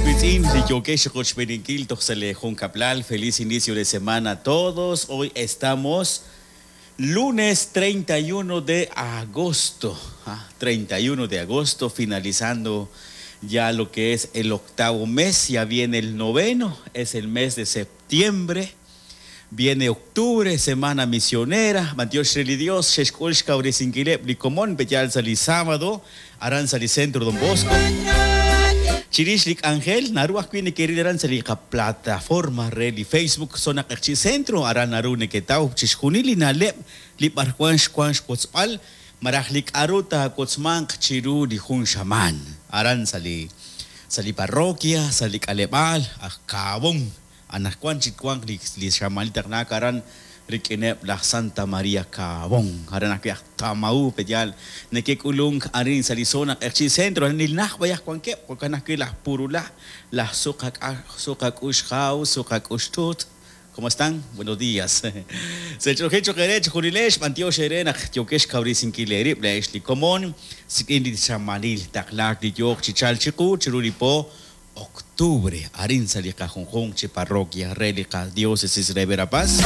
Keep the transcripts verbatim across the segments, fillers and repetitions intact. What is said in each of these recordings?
Wiitz'in, li yookex chiqochb'eeninkil toj sa' lee junkab'lal. Feliz inicio de semana a todos. Hoy estamos lunes treinta y uno de agosto. Ah, treinta y uno de agosto, finalizando ya lo que es el octavo mes. Ya viene el noveno, es el mes de septiembre. Viene octubre, semana misionera. B'antiox re li Dios, xexk'ul xkawresinkileb' li komon peyal sa' li sábado, aran sa' li centro Don Bosco. Chirix li k'anjel, naru ajwi' nekeril aran sa' li qaplataforma re li Facebook Zona Q'eqchi' Centro, aran naru neketaw chixjunil li na'leb' li b'arwan xwan xwotzb'al, malaj li k'a'ru taawotzmanq chiru li jun xamaan. Aran sa' li, sa' li parroquia, sa' li k'aleb'aal, aj Kaabón. Anaqwan chik wanq li, li xamaan li taqlaak aran rik'ineb' laj Santa María Kaabón. Aran ajwi' aj Tamaú peyal nekek'ulunk arin sa' li zona Q'eqchi' Centro. Aran nilnaj b'ayaq wankeb', jo'kan ajwi' laj Purulá, laj Suqak'a-, Suqak'ux Jaw, Suqak'ux Tut. ¿Cómo están? Buenos días. Sech'oje choqere chjunilex, b'antiox ere naq yokex kawresinkil eerib' la'ex li komon, sik'in li xamanil taqlaak li yooq chichal chiqu chiru li po octubre, arin sa' li qajunjunq chi parroquia re li qadiócesis re Verapaz.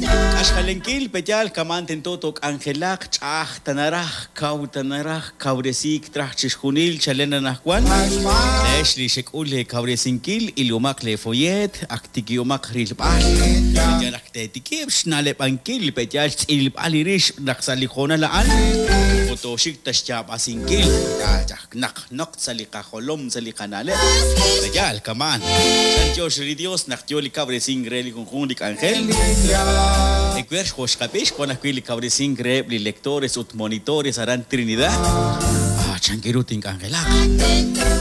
K'axjalenkil peyal kaman tento tok'anjelaq ch'aj tanaraj kaw tanaraj kawresik traj chixjunil chalen anajwan. La'ex li xek'ul le kawresinkil ilumaq le follet aktikiumaq rilb'al. Peyal ak tetikib' xna'leb'ankil peyal xtz'ilb'al li rix naq sa' li jonal a'an otoxik taxyaab'asinkil naq noq sa' li qajolom sa' li qana'leb'. Peyal kaman Chantiox li Dios naq yo li kawresink re li junjun li k'anjel. Ecuer xjoxqab'ix wan ajwi' li kawresink reheb' li lectores ut monitores aran Trinidad. Ah, chankiru tink'anjelaq.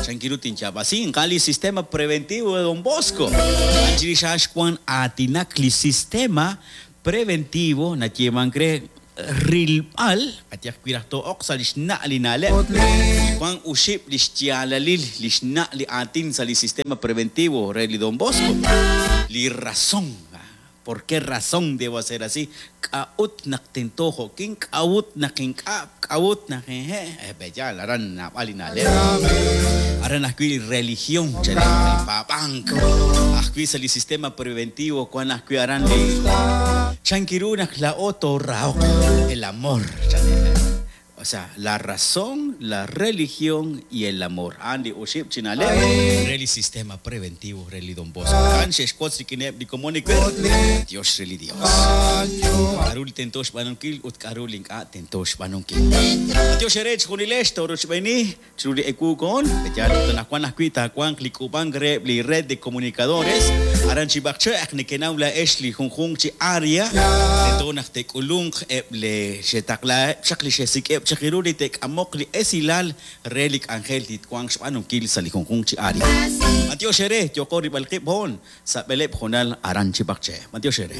Chankiru tinyaab'asin. Qal li sistema preventivo de Don Bosco. Anchirixax wan aatinak li sistema preventivo nayeemank re rilb'al atyaq wi' raj to'oq sa' li xna' li na'leb'. Wan uxib' li xyaalalil li xna' li aatin sa' li sistema preventivo re li Don Bosco. Li razón. ¿Por qué razón debo hacer así? K'a'ut naq tento jo'kin, k'a'ut naq ink'a', k'a'ut naq eje. Eh, beyal, aran nab'al li na'leb'. Aran ajwi' li religión, chalen, li paab'ank. Ajwi' sa' li sistema preventivo, wan ajwi' aran li chankiru naq la'o torraoq, el amor, chalen. O sea, la razón, la religión y el amor. Andi uxib chinaleb, reli sistema preventivo, reli Don Bosco. Kan xexkotz rikineb li komonikwer. Dios reli Dios. K'arul tentox b'anonkil ut k'arul ink'a' tentox b'anonkil. Dios erech junilex toroch b'eni, chiruli ekukon, peyal tanajwan ajwi' taawanq li k'ub'ank reheb' li red de comunicadores. Aran chib'aqche' ak nekenaw la ex li junjunq chi área. Tento naq tek'ulunq eb' le xetaqla chaq li xesik'eb' chiru li tek'amoq li esilal re li k'anjel li twanq xb'anunkil sa' li junjunq chi área. B'antiox ere, yoqo rib'alqib' hon, sa' b'eleb' jonal aran chib'aqche. B'antiox ere.